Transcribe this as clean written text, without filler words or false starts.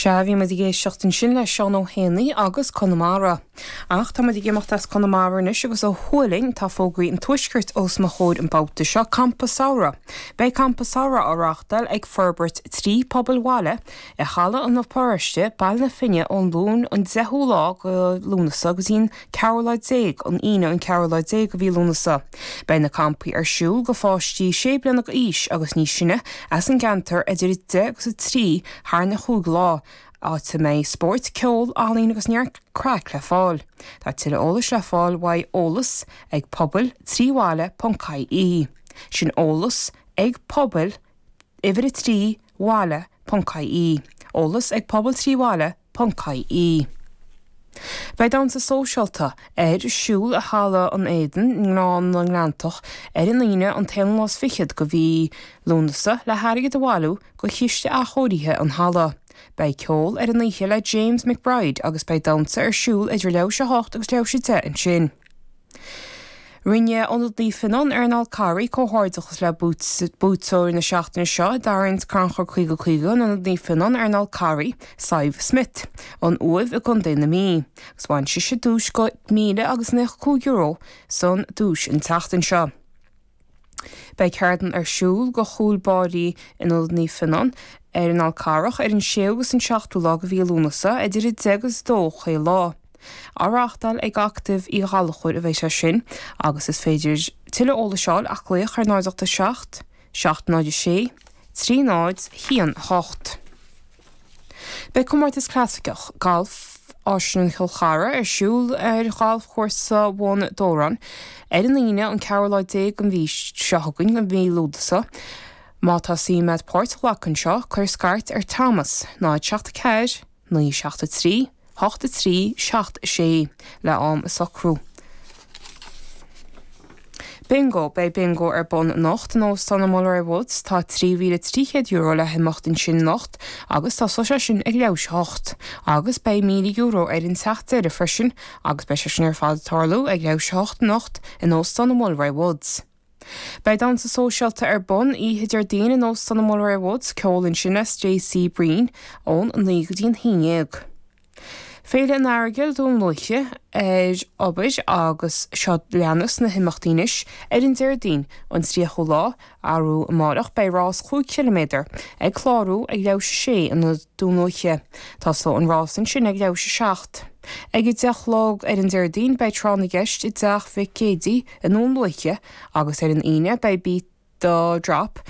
Sea, bhí muid ag éisteacht ansin le Seán Ó hÉanaí agus Conamara. Ach tá muid ag imeacht as Conamara anois agus ó thuaidh linn, tá fógraí an Tuaiscirt os mo chomhair an babhta seo, Campa Samhraidh. Beidh Campa Samhraidh á reáchtáil ag Forbairt 3 Pobail Bhaile i Halla an Pharóiste, Baile na Finne ón Luan an 10ú lá go Lúnasa go dtí an ceathrú lá déag, an Aoine an ceathrú lá déag de mhí Lúnasa. Beidh na campaí ar siúl go pháistí sé bliana d'aois agus níos sine as an gceantar idir 10 agus 3 thar na chúig lá, áit a mbeidh spóirt, ceol, ealaín agus neart craic le fáil. Tá tuilleadh eolais le fáil uaidh eolas ag pobail 3 bhaile ponc ie. Sin eolas ag pobail uimhir 3 bhaile ponc ie. Eolas ag pobail 3 bhaile ponc ie. Beidh damhsa sóisialta ar siúl i Halla an Éadain i nGleann na nGleanntach ar an Aoine an t-aonú lá is fichead go mhí Lúnasa le hairgead a bhailiú go chiste athchóirithe an halla. Beidh ceol ar an oíche le James McBride agus beidh damhsa ar siúl idir leathuair théis a hocht agus leathuair théis a deich ansin. Rinne Ionad Naomh Fionnán ar an Fhál Carraigh comhghairdeachas le buaiteoir na seachtaine seo i dtarraingt Crannchur 50 50 in Ionad Naomh Fionnán ar an Fhál Carraigh, Sadhbh Smith, ón Uaimh i gContae na Mí, agus bhain sise duais go €1,095 san duais an tseachtain seo. Beidh ceardlann ar siúl go chúl báirí in Ionad Naomh Fionnán ar an Fhál Carrach ar an 6ú agus an 7ú lá de mhí Lúnasa idir 10 agus 2 chaon lá. Á reáchtáil ag Acadamh Uí Ghallchóir a bheidh sé sin agus is féidir tuilleadh eolais a fháil ach glaoch ar 0 8 7 7 0 6 3 0 1 8. Beidh comórtas clasaiceach gailf Áislann Chill Chartha ar siúl ar ghalfchúrsa Bhun Dobhráin ar an Aoine an ceathrú lá déag den mhí seo chugainn, de mhí Lúnasa. Má tá suim agat páirt a ghlacadh anseo, cuir scairt ar Thomas, 0 7 4 9 7 3 8 3 7 6 le am a socrú. Bingo, Beidh Bingo ar bun anocht in Óstán an Mulroy Woods. Tá €3,300 le himeacht ansin anocht agus tosóidh sé sin ag leathuair théis a hocht. Agus beidh €1,000 ar an teach deiridh freisin agus beidh sé sin ar fad ag tarlú ag leathuair théis a hocht anocht in Óstán an Mulroy Woods. Beidh damhsa sóisialta ar bun oíche Déardaoin in Óstán an Mulroy Woods, ceol ansin le Stacey Breen ón 9 go dtí an 11. Féile an Earagail Dún Lúiche ar obair agus seo leanas na himeachtaí anois ar an Déardaoin an 30ú lá, arú amáireach beidh rás 5 chiliméadar ag clárú ag leathuair théis a sé in Dún Lúiche. Tosóidh an rás ansin ag leathuair théis a 7. Ag 10 a chlog ar an Déardaoin beidh tráth na gceist i dTeach Mhic Géidigh i nDún Lúiche agus ar an Aoine beidh Beat the Drop.